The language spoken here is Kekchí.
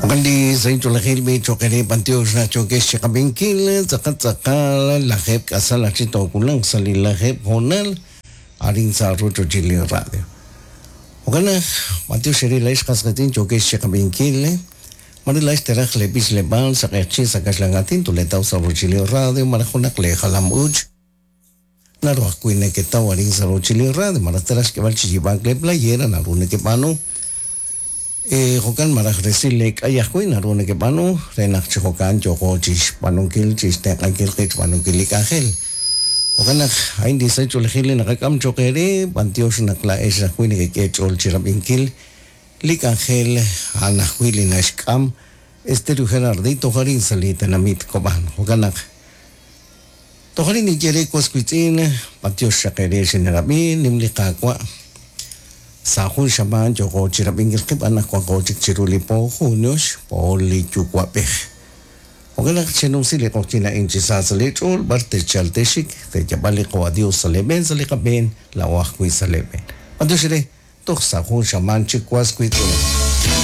Jo'kan li sahil ch'oolejil b'i cho'q eere b'antiox naq yookex chi qab'inkil tz'aqal tz'aqal lajeeb' k'asal aj chi toowulaq sa' li lajeeb' hoonal arin sa' rochochil li radio. Jo'kan naq b'antiox eere laa'ex qas qiitz'in yookex chi qab'inkil mare laa'ex teraj lee b'ichleb'aal sa' q'eqchi' sa' kaxlan aatin toleetaw sa' rochochil li radio malaj junaq lee jalam-uuch naru ajwi' neketaw arin sa' rochochil li radio malaj teraj xk'eeb'al chi yiib'aak lee playera naru nekeb'aanu. Jo'kan malaj resil lee k'ay ajwi' naru nekeb'aanu re naq chi jo'kan yooqo chixb'aanunkil chixtenq'ankil qib' xb'aanunkil li k'anjel. Jo'kan naq a'in li sahil ch'oolejil li naqak'am cho'q eere, b'antiox naq laa'ex ajwi' nekek'e ch'ool chirab'inkil li k'anjel a'an ajwi' li naxk'am Estéreo Gerardito arin sa' li tenamit Cobán. Jo'kan naq toj arin ninye re was wiitz'in, b'antiox xaq eere xinerab'i, nim li Qaawa'. Sa' jun xamaan yooqo chirab'inkil qib' anaqwan wanqo chik chiru li po junio xpo li Yuwa'b'ej. Jo'kan naq chenumsi li q'oqyink a'in chi sa sa' lee ch'ool b'ar techal texxik, teeyab'al li qawa' Dios sa' lee b'een sa' li qab'een, laa'o ajwi' sa' lee b'een. B'antiox eere, toj sa' jun xamaan chik was wiitz'in.